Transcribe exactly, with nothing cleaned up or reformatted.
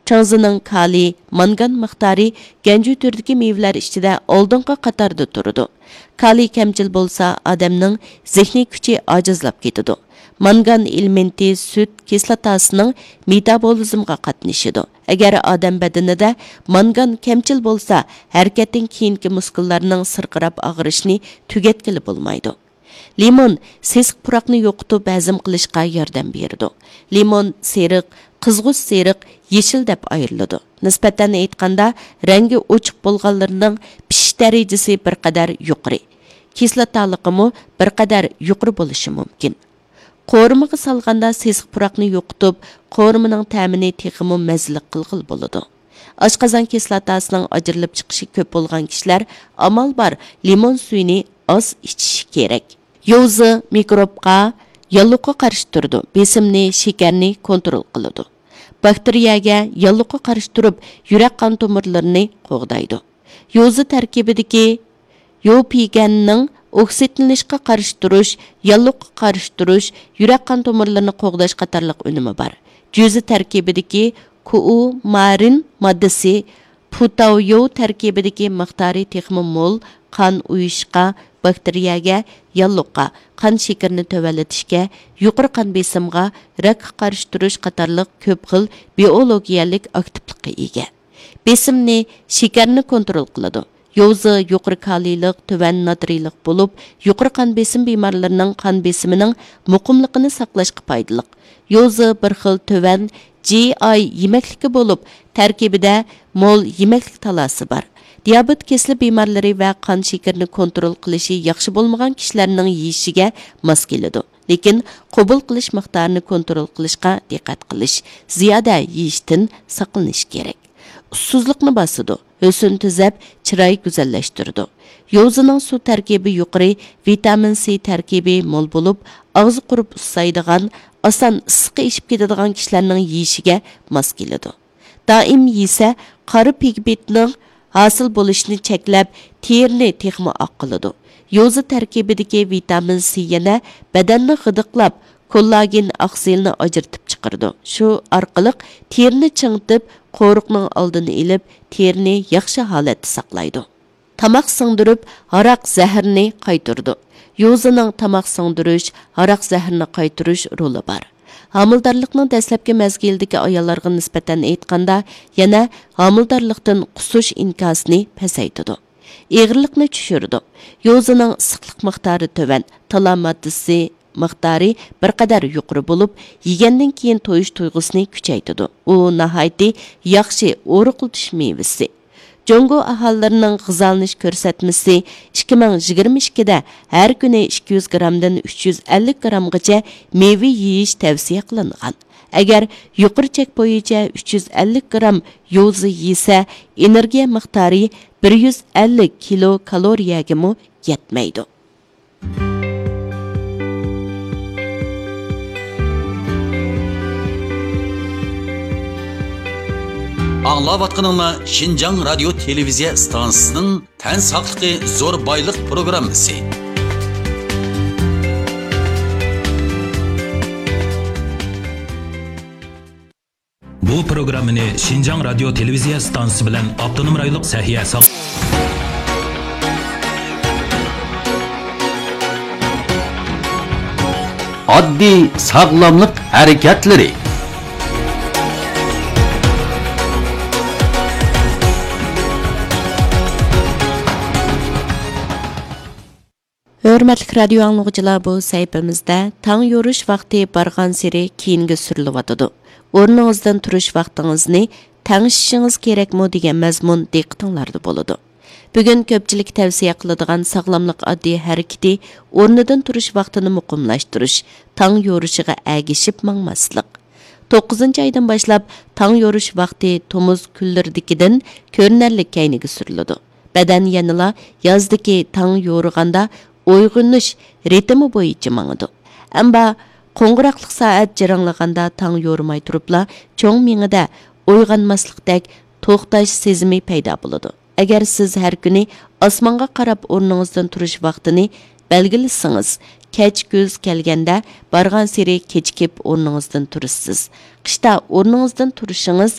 چاڭزىنىڭ كالىي، مانگان مىقدارى گەنجۇ تۈرىدىكى مېۋىلەر ئىچىدە ئالدىنقى قاتاردا تۇرىدۇ. كالىي كەمچىل بولسا، ئادەمنىڭ زېھنىي كۈچى ئاجىزلاپ كېتىدۇ. مانگان ئېلېمېنتى سۈت كىسلاتاسىنىڭ مېتابولىزمغا قاتنىشىدۇ. ئەگەر ئادەم بەدىنىدە مانگان كەمچىل بولسا، ھەرىكەتتىن كېيىنكى مۇسكۇللارنىڭ سىرقىراپ ئاغرىشىنى تۈگەتكىلى بولمايدۇ. لىمون سېسىق پۇراقنى يوقىتىپ ھەزىم قىلىشقا ياردەم بېرىدۇ. لىمون سېرىق، قىزغۇچ سېرىق، يېشىل دەپ ئايرىلىدۇ. نىسبەتەن ئېيتقاندا، رەڭگى ئوچۇق بولغانلىرىنىڭ پىشىش دەرىجىسى بىر قەدەر يۇقىرى، كىسلاتالىقىمۇ بىر قەدەر يۇقىرى بولۇشى مۇمكىن. قورۇمىغا سالغاندا سېسىق پۇراقنى يوقىتىپ، قورۇمىنىڭ تەمىنى تېخىمۇ مەززىلىك قىلغىلى بولىدۇ. ئاشقازان كىسلاتاسىنىڭ ئاجرىلىپ چىقىشى كۆپ بولغان كىشىلەر ئامال بار لىمون سۈيىنى ئاز ئىچىشى كېرەك. يوزى مىكروبقا، ياللۇغقا قارشى تۇرىدۇ، بېسىمنى، شېكەرنى كونترول قىلىدۇ. باكتېرىيەگە، ياللۇغقا قارشى تۇرۇپ، يۈرەك قان تومۇرلىرىنى قوغدايدۇ. يوزى تەركىبىدىكى يوپىگەننىڭ ئوكسىدلىنىشقا قارشى تۇرۇش، ياللۇغقا قارشى تۇرۇش، يۈرەك قان تومۇرلىرىنى قوغداش قاتارلىق ئۈنۈمى بار. جۈزى تەركىبىدىكى كۇئۇمارىن ماددىسى پۇتاۋيو تەركىبىدىكى مىقدارى تېخىمۇ مول، قان ئۇيۇشۇشقا، باكتېرىيەگە، ياللۇغقا، قان شېكىرىنى تۆۋەنلىتىشكە، يۇقىرى قان بېسىمغا، راكقا قارشى تۇرۇش قاتارلىق كۆپ خىل بىئولوگىيەلىك ئاكتىپلىققا ئىگە. بېسىمنى، شېكەرنى كونترول قىلىدۇ. يوزى يۇقىرى كالىيلىق، تۆۋەن ناترىيلىق بولۇپ، يۇقىرى قان بېسىم بىمارلىرىنىڭ قان بېسىمىنىڭ مۇقىملىقىنى ساقلاشقا پايدىلىق. يوزى بىر خىل تۆۋەن جى ئاي يېمەكلىكى بولۇپ، تەركىبىدە مول يېمەكلىك تالاسى بار. دىيابېت كېسىلى بىمارلىرى ۋە قان شېكىرىنى كونترول قىلىشى ياخشى بولمىغان كىشىلەرنىڭ يېيىشىگە ماس كېلىدۇ. لېكىن قوبۇل قىلىش مىقدارىنى كونترول قىلىشقا دىققەت قىلىش، زىيادە يېيىشتىن ساقلىنىش كېرەك. ئۇسسۇزلۇقنى باسىدۇ، ھۆسن تۈزەپ، چىراي گۈزەللەشتۈرىدۇ. يوزىنىڭ سۇ تەركىبى يۇقىرى، ۋىتامىن سى تەركىبى مول بولۇپ، ئاغزى قۇرۇپ ئۇسسايدىغان، ئاسان ئىسسىقى ئېشىپ كېتىدىغان كىشىلەرنىڭ يېيىشىگە ماس كېلىدۇ. دائىم يېسە، قارا پىگمېنتنىڭ ھاسىل بولۇشىنى چەكلەپ، تېرىنى تېخىمۇ ئاق قىلىدۇ. يوزا تەركىبىدىكى ۋىتامىن سى يەنە بەدەننى غىدىقلاپ، كوللاگېن ئاقسىلنى ئاجرىتىپ چىقىرىدۇ. شۇ ئارقىلىق تېرىنى چىڭىتىپ، قورۇقنىڭ ئالدىنى ئېلىپ، تېرىنى ياخشى ھالەتتە ساقلايدۇ. تاماق سىڭدۈرۈپ، ھاراق زەھىرىنى قايتۇرىدۇ. يوزىنىڭ تاماق سىڭدۈرۈش، ھاراق زەھىرىنى قايتۇرۇش رولى بار. ھامىلىدارلىقنىڭ دەسلەپكى مەزگىلىدىكى ئاياللارغا نىسبەتەن ئېيتقاندا، يەنە ھامىلىدارلىقتىن قۇسۇش ئىنكاسىنى پەسەيتىدۇ. ئېغىرلىقنى چۈشۈرىدۇ. يوزىنىڭ ئىسسىقلىق مىقدارى تۆۋەن، تالا ماددىسى مىقدارى بىر قەدەر يۇقىرى بولۇپ، يېگەندىن كېيىن تويۇش تۇيغۇسىنى كۈچەيتىدۇ. ئۇ ناھايىتى ياخشى ئورۇقلىتىش مېۋىسى. جۇڭگو ئاھالىلىرىنىڭ غىزالىنىش كۆرسەتمىسى ئىككى مىڭ يىگىرمە ئىككىدە ھەر كۈنى ئىككى يۈز گرامدىن ئۈچ يۈز ئەللىك گرامغىچە مېۋە يېيىش تەۋسىيە قىلىنغان. ئەگەر يۇقىرى چەك بويىچە ئۈچ يۈز ئەللىك گرام يوزا يېسە، ئېنېرگىيە مىقدارى بىر يۈز ئەللىك كىلو كالورىيەگىمۇ يەتمەيدۇ. ئاڭلاۋاتقىنىڭلار شىنجاڭ رادىيو تېلېۋىزىيە ئىستانسىسىنىڭ تەن ساقلىقى زور بايلىق پروگراممىسى. بۇ پروگراممىنى شىنجاڭ رادىيو تېلېۋىزىيە ئىستانسىسى بىلەن ئاپتونوم رايونلۇق سەھىيە ساغ- ئاددىي ساغلاملىق ھەرىكەتلىرى. ھۆرمەتلىك رادىيو ئاڭلىغۇچىلار، بۇ سەھىپىمىزدە تاڭ يورۇش ۋاقتى بارغانسېرى كېيىنگە سۈرۈلۈۋاتىدۇ. ئورنىڭىزدىن تۇرۇش ۋاقتىڭىزنى تەڭشىشىڭىز كېرەكمۇ دېگەن مەزمۇن دىققىتىڭلاردا بولىدۇ. بۈگۈن كۆپچىلىك تەۋسىيە قىلىدىغان ساغلاملىق ئاددىي ھەرىكىتى ئورنىدىن تۇرۇش ۋاقتىنى مۇقىملاشتۇرۇش، تاڭ يورۇشىغا ئەگىشىپ ماڭماسلىق. توققۇزىنچى ئايدىن باشلاپ تاڭ يورۇش ۋاقتى تومۇز كۈنلىرىدىكىدىن كۆرۈنەرلىك كەينىگە سۈرۈلىدۇ. بەدەن يەنىلا يازدىكى تاڭ يورۇغاندا ئويغىنىش رىتىمى بويىچە ماڭىدۇ. ئەمما قوڭغۇراقلىق سائەت جىرىڭلىغاندا تاڭ يورۇماي تۇرۇپلا چوڭ مېڭىدە ئويغانماسلىقتەك توختاش سېزىمى پەيدا بولىدۇ. ئەگەر سىز ھەر كۈنى ئاسمانغا قاراپ ئورنىڭىزدىن تۇرۇش ۋاقتىنى بەلگىلىسىڭىز، كەچ كۈز كەلگەندە بارغانسېرى كېچىكىپ ئورنىڭىزدىن تۇرىسىز. قىشتا ئورنىڭىزدىن تۇرۇشىڭىز